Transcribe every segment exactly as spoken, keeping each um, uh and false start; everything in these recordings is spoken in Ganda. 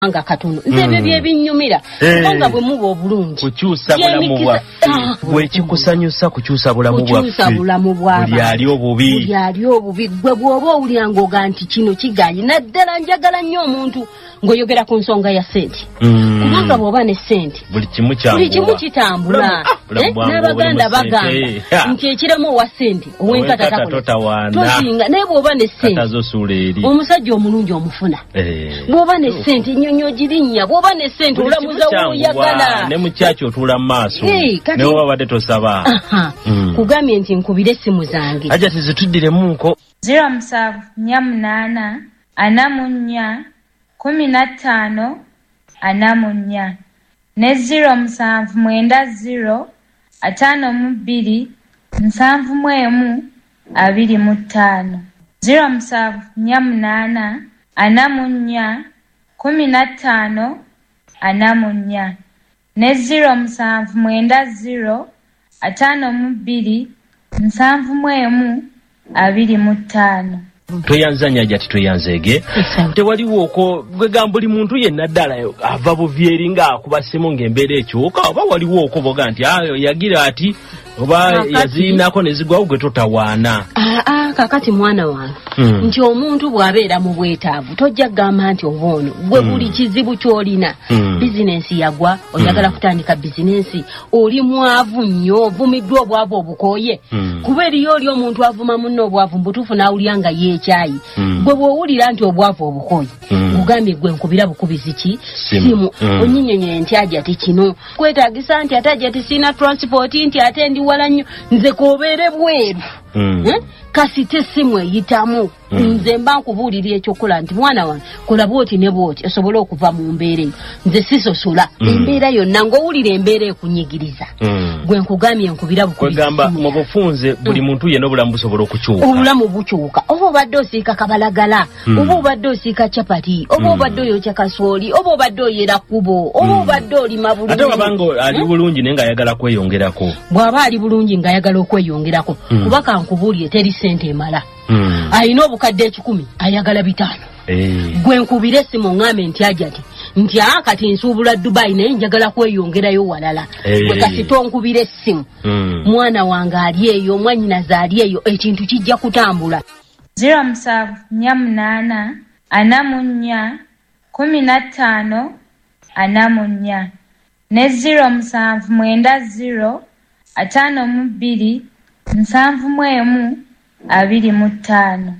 akawanga katono. Nze ebyo byebinyumira kubanga bwe muba obulungi kukyusa bulamu bwaffe, bwe kikusanyusa kukyusa bulamu bwaffe, kukyusa bulamu bw'abantu. Buli ali obubi, buli ali obubi. Gwe bw'oba owulira ng'oga nti kino kigaanyi, naddala njagala nnyo omuntu ng'oyogera ku nsonga ya ssente, kubanga bw'oba ne ssente buli kimu kyangula, buli kimu kitambula. N'abaganda bagamba nti ekiramu owa ssente ow'enkata totawaana, tosinga. Naye bw'oba ne ssente omusajja omulungi omufuna, bw'oba ne ssente ennyonyi ogirinnya, bw'oba ne ssente olamuza w'oyagala, ne mu kyaki otuula mu maaso ne woba obadde tosaba. Kugambye nti nkubire essimu zange ajja tizituddiremuko. Zero musanvu nnya munaana ana mu nnya kumi na ttaano ana mu nnya ne zero musanvu mwenda zero ataano mu bbiri nsanvu mu emu abiri mu ttaano. Zero musanvu nnya munaana ana mu nnya kumi na ttaano ana mu nnya ne zero musanvu mwenda zero ataano mu bbiri nsanvu mu emu abiri mu ttaano. Tweyanzanya ajja tweyanzeege. Tewaliwo okwo gwegamba buli muntu yenna ddala ava buvi eri ng'akuba ssimu ng'embeera ekyuka, oba waliwo okwo boga nti yagira ati oba yazirinako ne zigwawo gwe totawaana. Aa, kakati mwana wange, nti omuntu bw'abeera mu bwetaavu tojja kugamba nti oba ono gwe buli kizibu ky'olina, bizinensi yagwa, oyagala kutandika bizinensi, oli mwavu nnyo, ovumiddwa obwavu obukooye, kuba eriyo oli omuntu avuma munno obwavu mbutuufu n'awulira nga yeekyayi. Gwe bw'owulira nti obwavu obukooye, nkugambye gwe nkubira bukubizi ki simu, onnyinyonnyole nti ajja ti kino kwetaagisa, nti ate ajja ti sirina transport, nti ate ndi wala nnyo, nze k'obeere bweru. Kasite essimu eyitamu, nze mba nkubuulira ekyokukola nti mwana wange kola bw'oti ne bw'oti osobole okuva mu mbeera eyo. Nze sisosola embeera yonna, ng'owulira embeera ekunyigiriza, gwe nkugambye nkubira bukubizi. Kwegamba mu bufunze buli muntu yenna obulamu busobola okukyuka. Obulamu bukyuka. Oba obadde osiika kabalagala, oba obadde osiika capati, oba obadde oyokya kasooli, oba obadde oyera kkubo, oba obadde olima bulungi. Ate wabanga ali bulungi naye ng'ayagala kweyongerako. Bw'aba ali bulungi ng'ayagala okweyongerako, kuba kankubuulire teri ssente emala. Alina obukadde ekikumi ayagala bitaano. Gwe nkubira essimu ŋŋambe nti ajati nti aa kati nsuubula Dubai naye njagala kweyongerayo walala. Gwe kasita onkubira essimu, mwana wange ali eyo, mwannyinaze ali eyo, ekintu kijja kutambula. Zero musanvu nnya munaana ana mu nnya kumi na ttaano ana mu nnya ne zero musanvu mwenda zero ataano mu bbiri nsanvu mu emu abiri mu ttaano.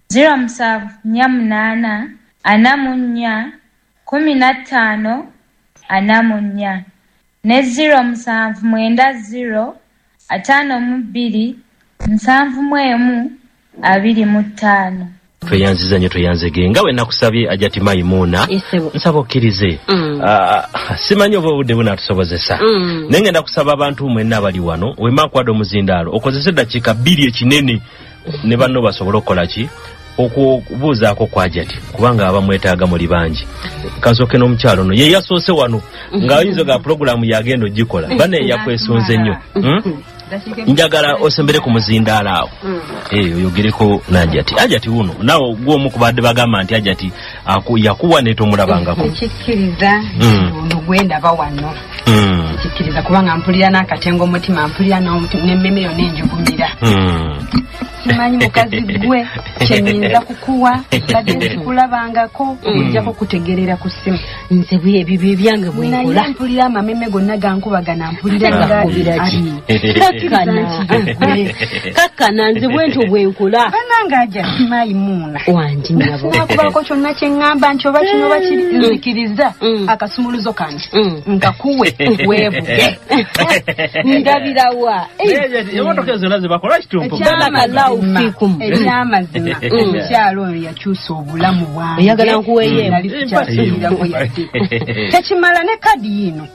Zero musanvu nnya munaana ana mu nnya kumi na ttaano ana mu nnya ne zero musanvu mwenda zero ataano mu bbiri nsanvu mu emu abiri mu ttaano. Tweyanziza nnyo tweyanzege nga we nakusabye Hajati Maimuna, nsaba okkirize. Simanyi oba obudde bunaatusobozesa, naye ngenda kusaba abantu mwenna abali wano, wema nkuwadde omuzindaalo okozese eddakiika bbiri ekinene ne banno basobole okukola ki okubuuzaako kwa Hajati, kubanga abamwetaaga muli bangi. Kansooke n'omukyalo ono ye yasoose wano ng'ayinza ga pulogulaamu yagenda ogikola, banne yakwesunze nnyo. Njagala osembere ku muzindaalo awo oyogereko n'Hajati. Hajati wuno naawe gw'omu ku badde bagamba nti Hajati yakuwa ne tomulabangako. Nkikkiriza ono gwe ndaba wano, nkikkiriza kubanga mpulira n'akatengo omutima, mpulira n'emmeme yonna enjugumira. Simanyi mukazi gwe kyenyinza kukuwa, badde nsikulabangako okujjako kutegerera ku ssimu. Nze ebyo bye byange bwe nkola. Naye mpulira amameme gonna gankubagana, mpulira nga kakkana nze bwentyo bwe nkola. Bannange Hajati Maimuna wangi nnyabo, nakubaako kyonna kye ŋŋamba nti oba kino oba kiri, nzikiriza akasumuluzo kano nkakuwe weevuge. Ndabirawa emmotoka ezo zonna zebakola kitumpu. Ekyamazima omukyalo oyo yakyusa obulamu bwange. Oyagala nkuweeyo nali sikyasuubirako yadde. Tekimala ne kadi yino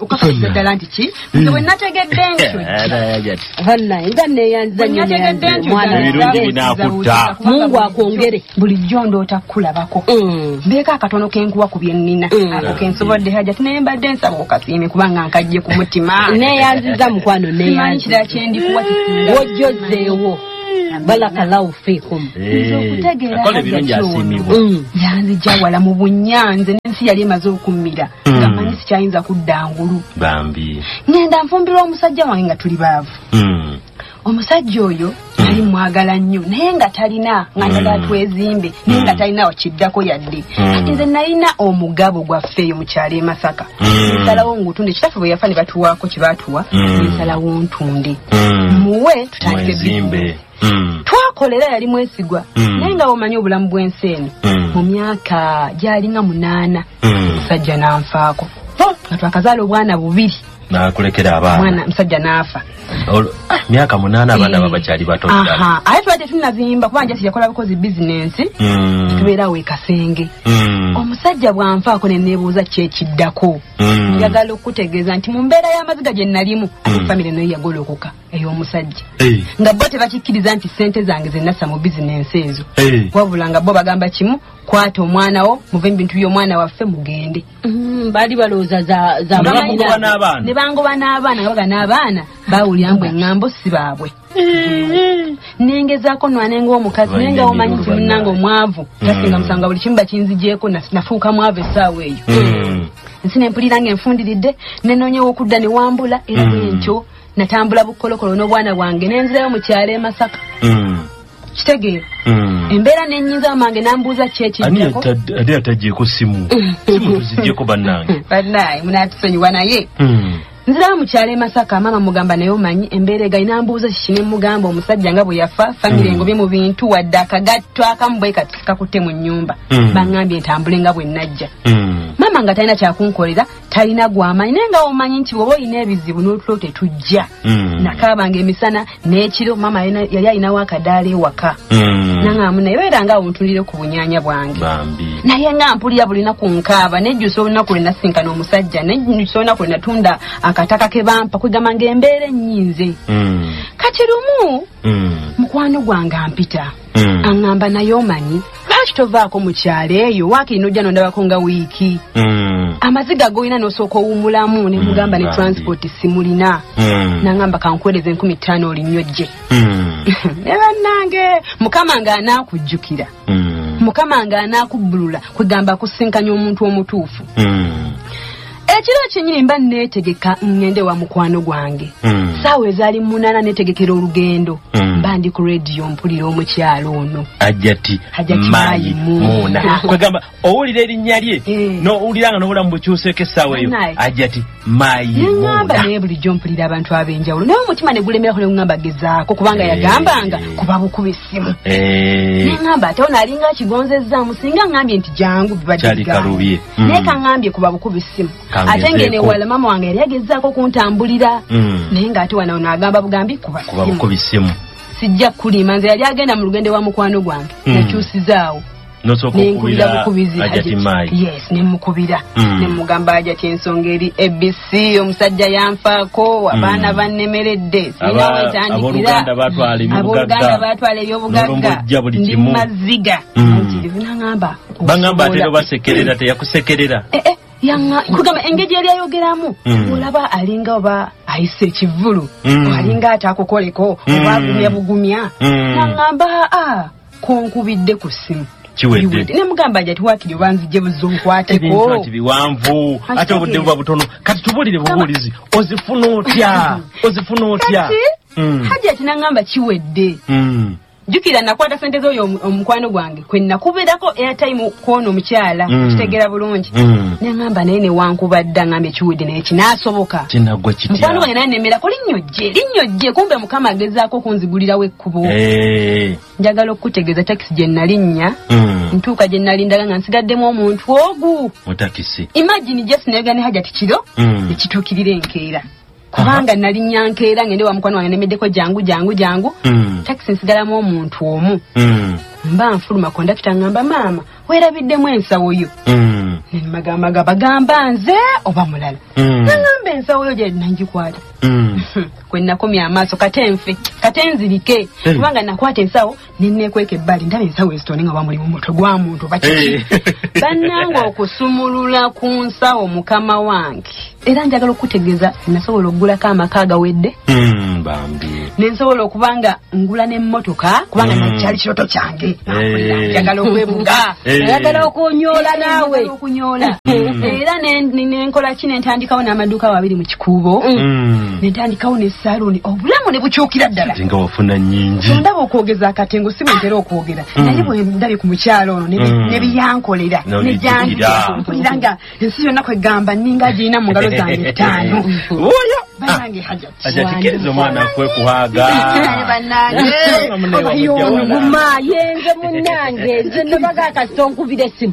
okakasiza ddala nti ki nze bwe nategedde ntyo nga neeyanziza nnyo ebirungi binaakutta. Mungu akwongere. Bulijjo ndoota kukulabako, mbeeko akatono kenkuwa ku bye nnina ako kensobodde Hajati, naye mbadde nsaba okasiime kubanga nkajje ku mutima. Neeyanziza mukwano, neeyanziza. Simanyi kirala kye ndikuwa kisinga wojjozzeewo. Barakallahu fiikum. Nze okutegeera akola ebirungi asiimibwa. Yanzija wala mu bunyanze n'ensi yali emaze okummira nga mmanyi sikyayinza kudda ngulu. Bambi. Ngenda nfumbirwa omusajja wange nga tuli baavu. Omusajja oyo yali mwagala nnyo naye nga talina nga njagala twezimbe naye nga talina wakiddako yadde. Kati nze nalina omugabo gwaffe eyo mu kyalo e Masaka. Nsalawo ngutunde, kitaffe bwe yafa ne batuwaako kye baatuwa, nsalawo ntunde muwe tutandike bizinesi. Twakolera yali mwesigwa naye nga omanyi obulamu bw'ensi eno mu myaka gy'alinga munaana omusajja n'anfaako nga twakazaala obwana bubiri. Nakulekera abaana. Mwana musajja n'afa. Myaka munaana abaana babakyali bato ddala. Aha, ate tubadde tunnazimba kuba nja siyakola bukozi bizinensi. Tubeerawo e Kasenge. Omusajja bw'anfaako ne neebuuza ki ekiddako. Njagala okutegeeza nti mu mbeera y'amaziga gye nalimu ate famire nayo yagolokoka ey'omusajja. Nga bo tebakikkiriza nti ssente zange ze nassa mu bizinensi ezo. Wabula nga bo bagamba kimu, kwata omwana wo, muve mu bintu by'omwana waffe mugende. Baali balowooza za za n'abaana. Ne bangoba n'abaana nga baga n'abaana bawulira mbu eŋŋambo si baabwe. Nengezaako nwanenga omukazi naye nga omanyi nti munnange omwavu tasinga musango buli kimu bakinzigyeko nafuuka mwavu essaawa eyo. Nsi ne mpulira ng'enfundiridde ne noonyewo okudda ne wambula era bwentyo natambula bukolokolo n'obwana bwange ne nzirayo mu kyalo e Masaka. Kitegeera embeera n'ennyinza mange n'ambuuza ki ekiddako. Ani atagyeko simu? Simu tuzigyeko bannange. Bannaye munaatusonyiwa naye. Nzirayo mu kyalo e Masaka, maama mugamba naye omanyi embeera egayi n'ambuuza kiki ne mugamba omusajja nga bwe yafa famire engobye mu bintu wadde akagatto akamu bwe kati kakutte mu nnyumba. Baŋŋambye ntambule nga bwe najja. Maama nga talina kyakunkolera, talina gw'amanyi naye nga omanyi nti bw'oba olina ebizibu n'otulo tetujja. Nakaabanga emisana n'ekiro, maama yali alinawo akadaala ewaka. Naŋŋamba naye beera nga awo ntunulire ku bunyaanya bwange. Naye nga mpulira buli lunaku nkaaba, nejjusa olunaku lwe nasinkana omusajja, nejjusa olunaku lwe natunda akataka ke bampa, kwegamba ng'embeera ennyinze. Kati lumu mukwano gwange ampita aŋŋamba naye omanyi lwaki tovaako mu kyalo eyo waakiri n'ojja n'ondabako nga wiiki. Amaziga g'olina n'osooka owummulamu ne mugamba ne transport simulina. N'aŋŋamba kankuweereze enkumi ttaano olinnyo jje. Ne bannange Mukama ng'anaakujjukira, Mukama ng'anaakubbulula, kwegamba akusinkanya omuntu omutuufu. Ekiro kyennyini mba neetegeka ŋŋende wa mukwano gwange. Ssaawa ezaali munaana neetegekera olugendo. Mba ndi ku rediyo mpulira omukyalo ono. Hajjati Maimuna. Kwegamba owulira erinnya lye n'owulira nga n'obulamu bukyuseeko essaawa eyo. Hajjati Maimuna. Neŋŋamba naye bulijjo mpulira abantu ab'enjawulo naye omutima ne gulemerako ne guŋŋamba gezaako kubanga yagambanga kuba bukuba essimu. Neŋŋamba ate ono alinga akigonzezzaamu singa ŋŋambye nti jangu bibadde bigambo. Naye kaŋŋambye kuba bukuba essimu. Ate ngene wala mama wange yali agezaako kuntambulira naye ng'ate wano ono agamba bugambi kuba simu. Sijja kulima nze yali agenda mu lugendo wa mukwano gwange nakyusizaawo n'osooka okubira Hajjati Mayi. Yes, ne mukubira ne mugamba Hajjati ensonga eri A B C omusajja yanfaako abaana bannemeredde sirina we ntandikira abooluganda baatwala ebyobugagga ndi mu maziga. Naŋŋamba baŋŋamba ate basekerera teyakusekerera. Yanga kugamba engeri yali ayogeramu olaba alinga oba ayise ekivvulu alinga ataakukoleko oba agumya bugumya. Naŋŋamba aa konkubidde ku ssimu kiwedde. Ne mugamba Hajjati waakiri oba nzije buzo nkwateko. Ebintu ati biwanvu ate obudde buba butono kati tubuulire bubuulizi ozifuna otya ozifuna otya. Hajjati naŋŋamba kiwedde. Jjukira nakwata ssente z'oyo omukwano gwange kwe nakubeerako airtime kw'ono omukyala kitegeera bulungi. Neŋŋamba naye ne wankubadde aŋŋambye kiwedde naye kinaasoboka. Kinaggwa kitya? Mukwano gwange naye nemmerako linnyo jje linnyo jje kumbe Mukama agezaako okunzigulirawo ekkubo. Njagala okukutegeeza takisi gye nalinnya ntuuka gye nalindaga nga nsigaddemu omuntu ogu. Mu takisi. Imagine just nayogera ne Hajjati kiro ekituukirira enkeera. Kubanga nalinnya nkeera ngende wa mukwano wange nemeddeko jangu jangu jangu. Takisi nsigalamu omuntu omu. Mba nfuluma kondakita ngamba maama Weerabiddemu ensawo yo. Mm. Nemagamba bagamba nze oba mulala. Mm. Nangamba ensawo yo gye nangikwata. Mm. Kwe nakomya amaaso kate nfe, kate nzirike. Hey. Kubanga nakwata ensawo ne neekweka ebbali ndaba ensawo ezitone nga bamulimu mutwe gwa muntu oba kiki. Hey. Bannange okusumulula ku nsawo mukama wange. Era njagala okutegeeza nasobola okugulako amaka agawedde. Mm, bambi. Ne nsobola okuba nga ngula n'emmotoka kubanga Mm. nakyali kirooto kyange. Hey. Njagala okwebuga. Hey. Oyagala okunyoola naawe. Njagala okunyoola. Mm. Era ne, ne, ne nkola ki ne ntandikawo n'amaduuka abiri mu kikuubo. Mm. Ne ntandikawo ne saluuni obulamu ne bukyukira ddala. Ate nga wafuna nnyingi. Ndaba okwogeza akatengo si bwe ntera okwogera. Mm. Naye bwe ndabye ku mukyalo ono ne bi- Mm. ne biyankolera. No, Ne bijjukira. gyanjukira. Mpulira nga ensi yonna kwegamba nninga girina mu ngalo zange ttaano. Oyo. Bannange Hajat. Hajat kiriza omwana kwekuhaga. Naye bannange. Guma yenze munnange nze nabaga kasita onkubira essimu.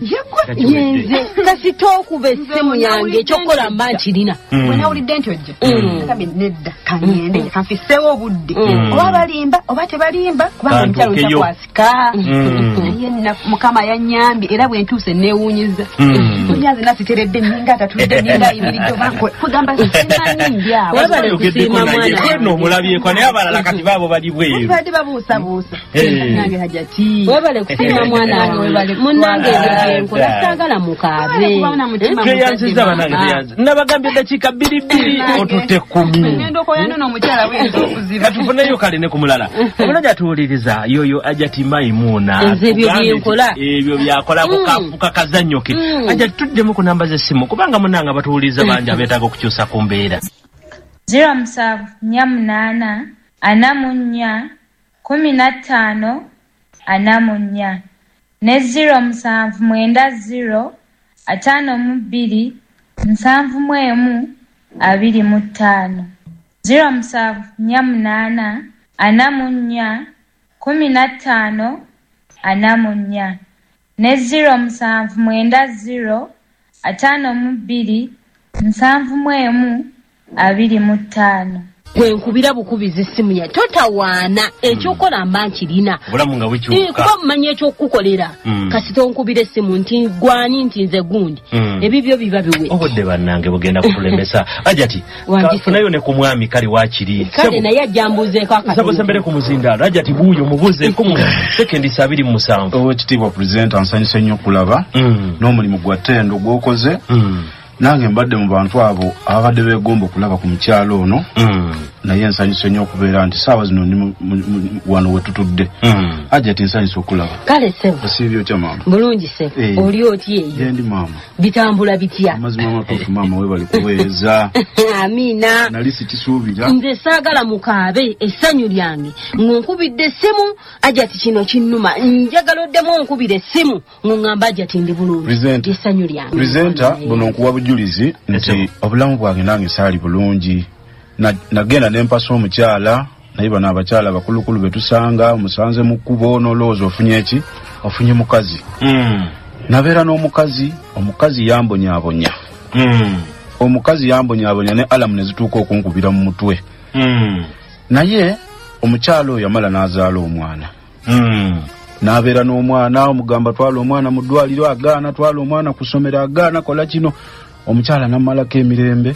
Yenze kasita okuba essimu yange ekyokukola mba nkirina. Mm. Bwe nawulidde nti ojja. Mm. Nagambye nedda kangende kanfiseewo obudde. Mm. Oba balimba oba tebalimba kubanga omukyalo Kantuukeyo. ntakwasika. Mm. Naye nna Mukama yannyambye era bwe ntuuse neewuunyiza. Mm. Mpulira nze nasiteredde nninga atatudde nninga ayimiridde oba nko- kugamba simanyi ndi awo. Webale Oyogeddeko kusiima naye mwana kweno wange. omulabyeko naye abalala kati baabo bali bweru. Babadde babuusabuusa. Eh. Nange Hajati. Webale kusiima mwana wange. Webale Munnange ebyo kutwala. byenkola saagala mukaabe. Webale kuba na mutima Tweyanziza muzadde bannange maama. tweyanziza. Nabagambye eddakiika bbiri bbiri otutte kkumi. Ngenda okoyana n'omukyala bw'enza okuziba. Katufuneyo kale ne ku mulala. Omulala atuwuliriza yoyo Hajati Maimuna. Nze ebyo Atugambye nti byenkola. Ebyo byakola Mm. kukafuka kazannyo ke. Mm. Hajati tuddemu ku namba z'essimu kubanga munnange abatuwuliriza bangi abeetaaga okukyusa ku mbeera. Zero musanvu nnya munaana ana mu nnya kumi na ttaano ana mu nnya ne zero musanvu mwenda zero ataano mu bbiri nsanvu mu emu abiri mu ttaano. Zero musanvu nnya munaana ana mu nnya kumi na ttaano ana mu nnya ne zero musanvu mwenda zero ataano mu bbiri nsanvu mu emu abiri mu ttaano. Gwe nkubira bukubizi essimu ya totawaana ekyokukola mba nkirina. Obulamu nga Eh, bukyuka. kuba mumanyi ekyokukukolera. Mm. Kasita onkubira essimu nti gwani nti nze gundi. Mm. Ebibyo biba biwe. Obudde bannange bugenda kutulemesa. Hajati Wangi kafunayo ne ku mwami kale waakiri. Kale Sebo, naye ajja mbuuzeeko nsaba akatono. osembere ku muzindaalo. Hajati buuyo mubuuzeeko mu sekendi abiri mu musanvu. Oweekitiibwa pulezidenti nsanyuse nnyo okulaba Mm. n'omulimu gwa ttendo gw'okoze. Mm. Nange mbadde mu bantu abo ababadde beegomba okulaba ku mukyalo ono. Mm. Naye nsanyuse nnyo okubeera nti saawa zino ndi mu- mu- mu- wano we tutudde. Mm. Hajati nsanyuse okulaba. Kale ssebo. Osiibye otya maama? Bulungi ssebo. Eh. Oli otya eyo? Gye ndi maama. Bitambula bitya? Amazima amatuufu maama weebale kuweereza. Amiina. Nali sikisuubira. Nze saagala mukaabe essanyu lyange ng'onkubidde essimu Hajati kino kinnuma njagala oddemu onkubira essimu ng'oŋŋamba Hajati ndi bulungi Presenter. essanyu lyange. Presenter, buno nkuwa bujulizi nti Ese. obulamu bwange nange saali bulungi. Na- Nagenda ne mpasa omukyala naye bano abakyala bakulukulu be tusanga omusanze mu kkubo n'olowooza ofunye ki? Ofunye mukazi. Mm. Nabeera n'omukazi, omukazi yambonyaabonya. Mm. Omukazi yambonyaabonya ne alamu ne zituuka okunkubira mu mutwe. Mm. Naye omukyala oyo yamala n'azaala omwana. Mm. N'abeera n'omwana, omugamba twala omwana mu ddwaliro agaana, twala omwana ku ssomero agaana, kola kino. Omukyala n'ammalako emirembe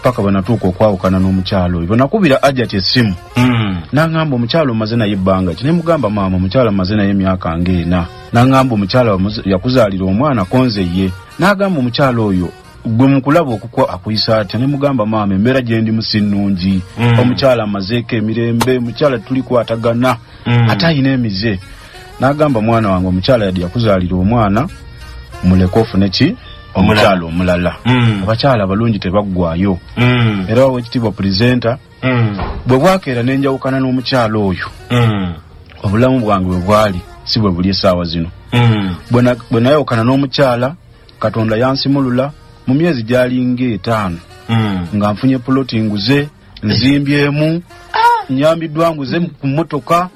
paka bwe natuuka okwawukana n'omukyala oyo. Bwe nakubira Hajati essimu Mm. n'aŋŋamba omukyala omaze naye ebbanga ki? Ne mugamba maama omukyala mmaze naye emyaka ng'ena. N'aŋŋamba omukyala wamuza-, yakuzaalira omwana konze ye. N'agamba omukyala oyo gwe mukulaba okukwa akuyisa atya? Ne mugamba maama embeera gye ndimu si nnungi. Mm. Omukyala amazeeko emirembe, omukyala tulikwatagana Mm. ate alina emize. N'agamba mwana wange omukyala yadde yakuzaalira omwana muleke ofune ki? Omukyala omulala. Mm. Abakyala abalungi tebaggwayo. Mm. Era oweekitiibwa pulezidenti Mm. bwe bwakeera ne njawukana n'omukyala oyo. Mm. Obulamu bwange bwe bwali si bwe buli essaawa zino. Mm. Bwe na-, bwe nayawukana n'omukyala Katonda yansimulula mu myezi gy'alinga etaano. Mm. Nga nfunye puloti nguze, nzimbyemu, nyambiddwa nguze ku mmotoka,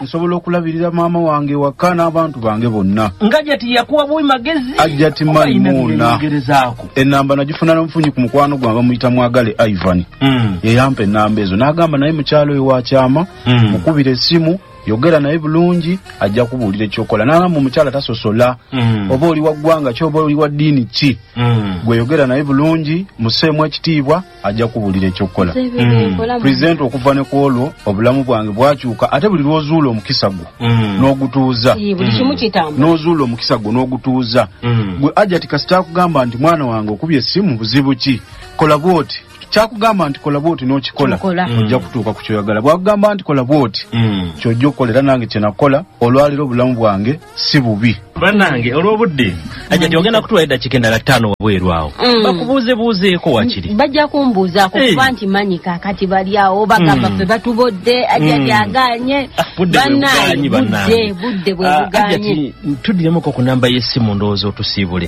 nsobola okulabirira maama wange waka n'abantu bange bonna. Nga Hajati yakuwa buwi magezi. Hajati Oba alina Maimuna. byeyegerezaako. Ennamba nagifuna n'omufunyi ku mukwano gwange bamuyita Mwagale Ivan. Mm. Ye yampa ennamba ezo n'agamba naye mukyalo oyo wa kyama, Mm. mukubire essimu Yogera naye bulungi, ajja kubuulira ekyokola. N'agamba omukyala tasosola, Mm. oba oli wa ggwanga ki oba oli wa ddiini ki, Mm. gwe yogera naye bulungi, musseemu ekitiibwa, ajja kubuulira ekyokukola. Mm. Pulezidenti okuva ne ku olwo obulamu bwange bwakyuka, ate buli lw'ozuula omukisa gwo Mm. n'ogutuuza, Buli kimu kitambula. n'ozuula omukisa gwo n'ogutuuza. Mm. Gwe Hajati kasita akugamba nti mwana wange okubye essimu buzibu ki, kola bw'oti. Kyakugamba nti kola bw'oti n'okikola, Kikola. ojja kutuuka ku kyoyagala. Bw'akugamba nti kola bw'oti, Mm. ky'ojja okukola. Era nange kye nakola olwaleero obulamu bwange si bubi. Bannange olw'obudde, Hajati ogenda kutuwa eddakiika endala ttaano wabweru awo, Mm. bakubuuzebuuzeeko wakiri. Bajja kumbuuzaako Hey. kuba nti manyi kaakati bali awo bagamba Mm. ffe batubodde, Hajati Mm. aganye. Ah, budde bwe Bannange, bugaanyi, budde bannange. budde bwe Ah, bugaanye. Hajati tuddiremuko ku namba y'essimu ndowooza otusiibule.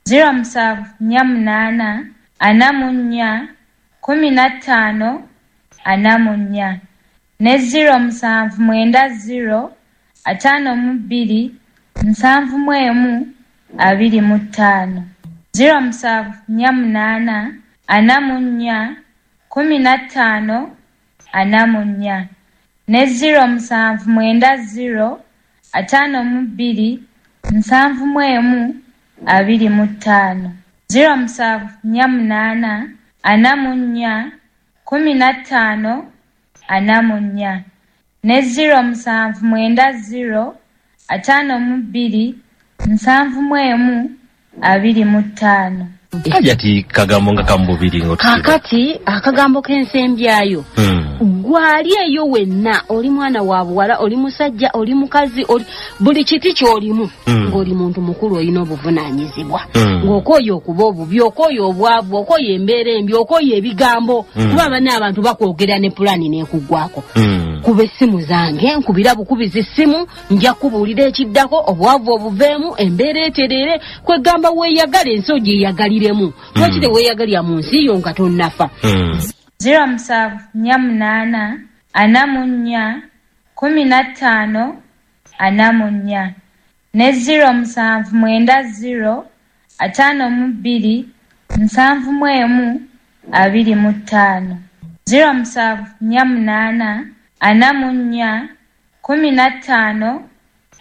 Ziro musanvu nnya munaana ana mu nnya kumi na ttaano ana mu nnya ne ziro musanvu mwenda ziro ataano mu bbiri nsanvu mu emu abiri mu ttaano. Ziro musanvu nnya munaana ana mu nnya kumi na ttaano ana mu nnya ne ziro musanvu mwenda ziro ataano mu bbiri nsanvu mu emu abiri mu ttaano. Ziro musanvu nnya munaana ana mu nnya kumi na ttaano ana mu nnya ne ziro musanvu mwenda ziro ataano mu bbiri nsanvu mu emu abiri mu ttaano. Hajati kagambo nga kamububiri ng'otusiiba. Kaakati akagambo k'ensembyayo, Mm. gwali eyo wenna, oli mwana wa buwala, oli musajja, oli mukazi, oli buli kiti ky'olimu, Mm. ng'oli muntu mukulu olina obuvunaanyizibwa, Mm. ng'okooye okuba obubi, okooye obwavu, okooye embeera embi, okooye ebigambo, Mm. kuba banna abantu bakwogera ne pulaani n'ekuggwako. Mm. Kuba essimu zange, nkubira bukubizi ssimu, nja kubuulira ekiddako, obwavu obuveemu, embeera etereere, kwegamba weeyagala ensi ogyeyagaliremu. Lwaki teweeyagalira mu nsi yo nga tonnafa? Mm. Ziro musanvu nnya munaana ana mu nnya kumi na ttaano ana mu nnya ne ziro musanvu mwenda ziro ataano mu bbiri nsanvu mu emu abiri mu ttaano. Ziro musanvu nnya munaana ana mu nnya kumi na ttaano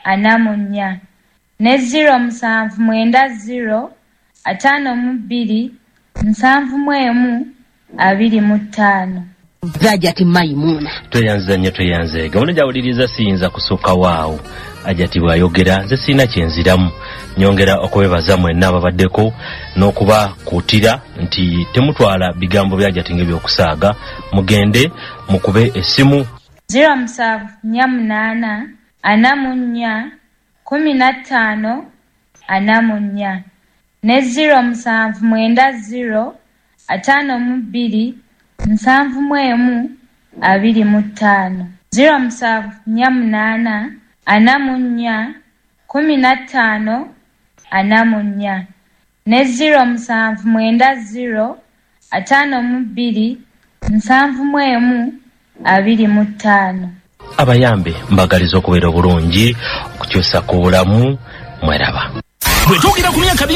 ana mu nnya ne ziro musanvu mwenda ziro ataano mu bbiri nsanvu mu emu abiri mu ttaano. Hajati Maimuna. Tweyanziza nnyo, tweyanzeega. Ono gy'awuliriza siyinza kusukka waawo. Hajati bw'ayogera nze sirina kye nziramu. Nyongera okwebaza mwenna ababaddeko n'okubakuutira nti temutwala bigambo bya Hajati ng'ebyokusaaga, mugende mukube essimu. Ziro musanvu nnya munaana ana mu nnya kumi na ttaano ana mu nnya ne ziro musanvu mwenda ziro ataano mu bbiri nsanvu mu emu abiri mu ttaano. Ziro musanvu nnya munaana ana mu nnya kumi na ttaano ana mu nnya ne ziro musanvu mwenda ziro ataano mu bbiri nsanvu mu emu abiri mu ttaano. Abayambe mbagaliza okubeera obulungi, okukyusa ku bulamu, mweraba. Bwe twogera ku myaka